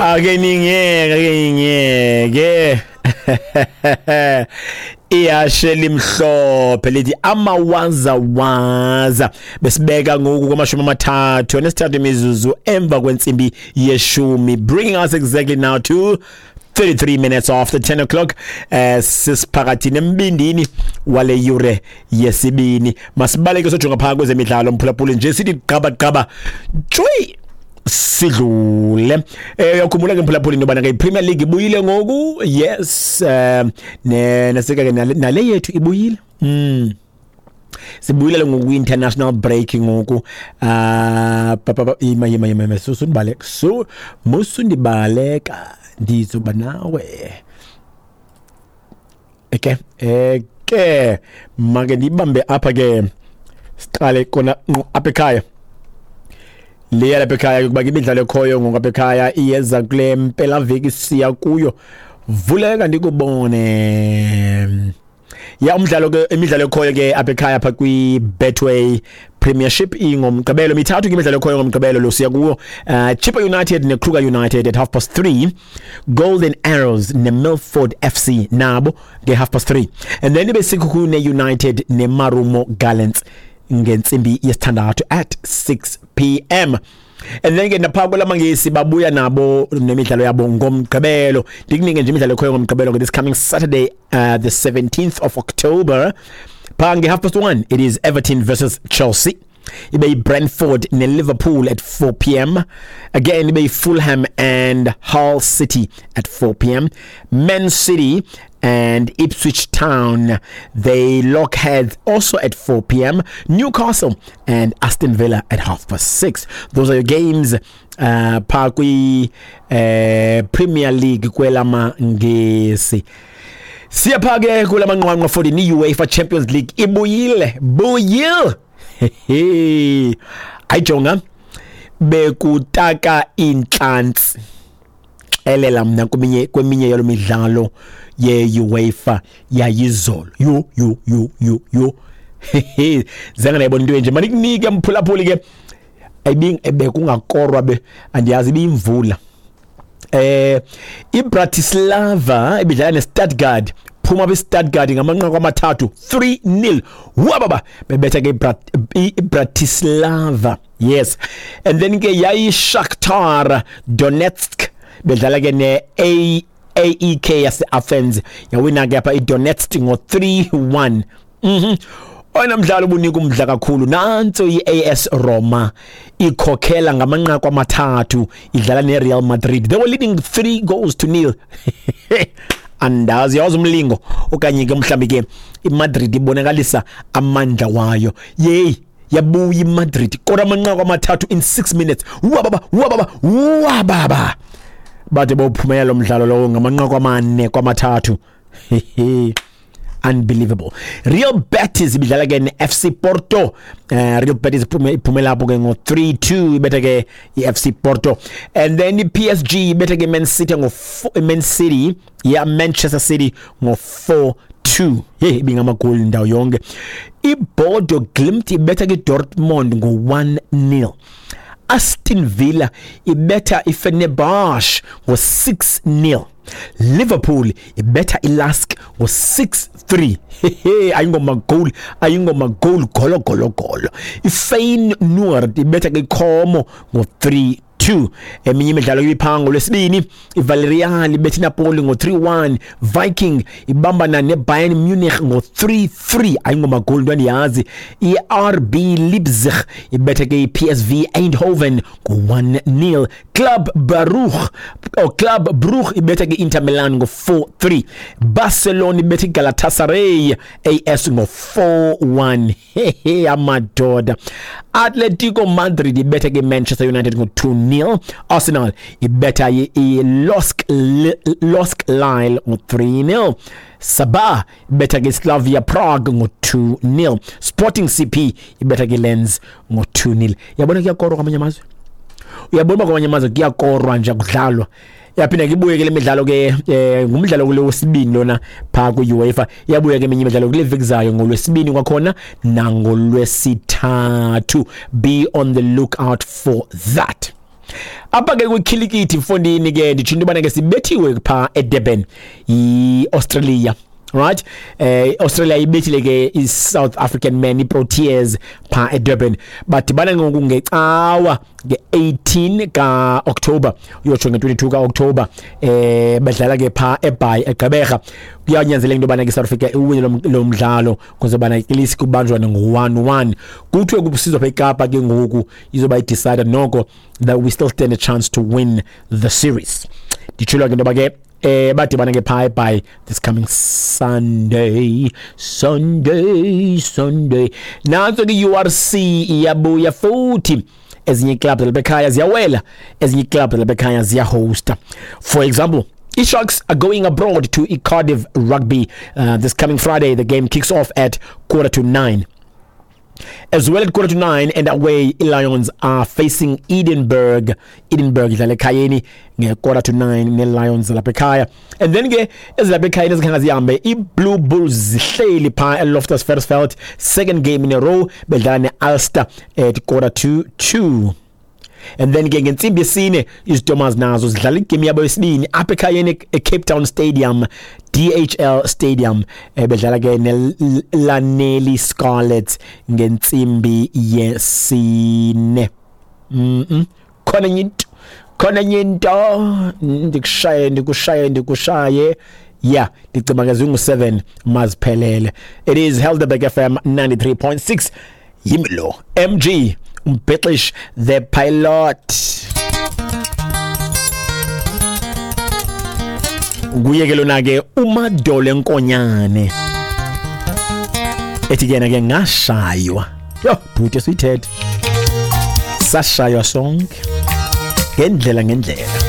Ake ningiyeke, ake ningiyeke. Ihashe limhlophe lithi amawazawaza. Besibeka ngoku kwamashumi 33 imizuzu emva kwentsimbi yeshumi, bringing us exactly now to 33 minutes after 10 o'clock. Sisiphakathi nembindini wale yure yesibini. Masibaleke sojonga phaa kwezemidlalo, mphulaphuli, nje sithi gqaba gqaba tshwi sidlule. Uyakhumbula ke, mphulaphuli, into yobana ke i-Premier League ibuyile ngoku. Yes, ne nasika ke nale yethu ibuyile. Sibuyile ngoku kwi-international break ngoku. Ah, ima, yima, yima, yima, susundibaleka, su musundibaleka, ndizoba nawe. Eke make ndibambe apha ke, siqale kona ngqo apha ekhaya. Leya lapha ekhaya, kuba ke imidlalo ekhoyo ngoku apha ekhaya iyeza kule mpelaveki siya kuyo. Vuleka ndikubone. Ya, umdlalo ke, imidlalo ekhoyo ke apha ekhaya apha kwi-Betway Premiership ingomgqibelo. Mithathu ke imidlalo ekhoyo ngomgqibelo lo siya kuwo. Chippa United neKruger United at 3:30, Golden Arrows neMilford FC nabo nge-3:30, and then ibe Sekhukhune United neMarumo Gallants ngentsimbi yesithandathu, at 6 p.m. And then ke napha kwelamangesi babuya nabo nemidlalo yabo ngomgqibelo. Ndikunike nje imidlalo ekhoyo ngomgqibelo ke, this coming Saturday, the 17th of October. Phaa nge-1:30 it is Everton versus Chelsea, ibe yi-Brentford ne-Liverpool at 4 p.m., again ibe yi-Fulham and Hull City at 4 p.m., Man City and Ipswich Town, they lock heads also at 4 p.m., Newcastle and Aston Villa at 6:30. Those are your games phaa kwi Premier League kwelamangesi. Siyapha ke kulamanqwanqwa for the UEFA Champions League. Ibuyile, buyile. Ayijonga, bekutaka intlantsi, xelela mna, kweminye yalo midlalo ye-UEFA yayizolo. Yo yo yo yo yo, zange ndayibona into enje. Manikunike, mphulaphuli, ke bekungakorwa, be andiyazi ibiyimvula. iBratislava ibidlala neStuttgart, phuma kwiStuttgart ngamanqaku amathathu, 3-0. Wababa bebetha ke iBratislava. Yes, and then ke yayi Shakhtar Donetsk bedlala ke ne A AEK yase Athens, yawina ke apha iDonetsk ngo 3-1. Oyena mdlalo ubunika umdla kakhulu, nantso i-AS Roma ikhokhela ngamanqaku amathathu idlala ne-Real Madrid. They were leading 3 goals to nil. Andazi yawazi umlingo okanye ke mhlawumbi ke iMadrid ibonakalisa amandla wayo. Yeyi, yabuya iMadrid kodwa, amanqaku amathathu in 6 minutes. Wababa, wababa, wababa, bade bawuphumela lo mdlalo lowo ngamanqaku 4-3. Unbelievable. Real Betis ibidlala ke ne-FC Porto. Real Betis iphumela apho ke ngo-3-2, ibetha ke i-FC Porto. And then i-PSG ibetha ke Man City ngo Man City, yeah, Manchester City ngo 4-2. Hey, ibingamagoli ndawo yonke. IBodo Glimt ibetha ke Dortmund ngo 1-0. Aston Villa ibetha iFenerbahce ngo 6-0. Liverpool ibetha iLASK ngo 6-3. Ayingomagoli, ayingomagoli, golo golo golo. IFeyenoord ibetha ke Como ngo 3-2. Eminye imidlalo ibiphango lwesibini, iVillarreal ibetha iNapoli ngo 3-1, Viking ibambana neBayern Munich ngo 3-3. Ayingomagoli, into andiyazi. I-RB Leipzig ibetha ke i-PSV Eindhoven ngo 1-0. Club Baruch or Club Brugge ibetha ke Inter Milan ngo 4-3. Barcelona ibetha iGalatasaray AS ngo 4-1. Hehe, amadoda. Atletico Madrid ibetha ke Manchester United ngo 2-0. Arsenal ibetha i-LOSC Lille ngo 3-0. Sabah ibetha ke Slavia Prague ngo 2-0. Sporting CP ibetha ke Lens ngo 2-0. Yabona, kuyakorwa kwamanye amazwe. Uyabona uba kwamanye amazwe kuyakorwa nje, kudlalwa. Yaphinda ke ibuye ke le midlalo ke, ngumdlalo kule wesibini lona phaa kwi-UEFA. Iyabuya ke eminye imidlalo kule veki zayo, ngolwesibini kwakhona nangolwesithathu. Be on the lookout for that. Apha ke kwikhilikithi, mfondini, ke nditsho into yobana ke sibethiwe phaa eDurban yi-Australia, right? Australia ibethile ke i-South African men, i-Proteas, phaa eDurban. Badibana ngoku ngecawa nge-18 ka-October, uyotsho nge-22 ka-October. Badlala ke phaa eBhayi, eGqeberha. Kuyanyanzeleka into yobana ke South Africa iwine lo mdlalo kwenzela ubana at least kubanjwane ngo-1-1. Kuthiwe kusizwa pha eKapa ke ngoku izoba i-decider noko that we still stand a chance to win the series. Nditshilo ke into yoba ke badibana ke phaa by this coming Sunday, Sunday, Sunday. Nantso ke URC iyabuya futhi. Ezinye ii-clubs lapha ekhaya ziyawela, ezinye ii-clubs lapha ekhaya ziyahosta. For example, i-Sharks are going abroad to Cardiff Rugby this coming Friday. The game kicks off at 8:45. As well, at 8:45 and away, Lions are facing Edinburgh. Edinburgh idlala ekhayeni nge-8:45 ne-Lions lapha ekhaya. And then ke ezilapha ekhayeni ezikhange zihambe, i-Blue Bulls zihleli phaa eLoftus Versfeld, second game in a row, bedlala ne-Ulster at 1:45. And then ke ngentsimbi yesine iZistomas nazo zidlala igame yabo yesibini apha ekhayeni eCape Town Stadium, DHL Stadium, bedlala ke neLaneli Scarlets ngentsimbi yesine. Khona enye into, khona enye into, ndikushaye, ndikushaye, ndikushaye. Yeah, ndicinga ke zingu-7 maziphelele. It is Helderberg FM 93.6. Yimi lo MG umbhexish, the pilot. Nguye ke lona ke uMadole Nkonyane, ethi ke yena ke ngashaywa. Yho bhuti, suyithethe, sashaywa sonke ngendlela ngendlela.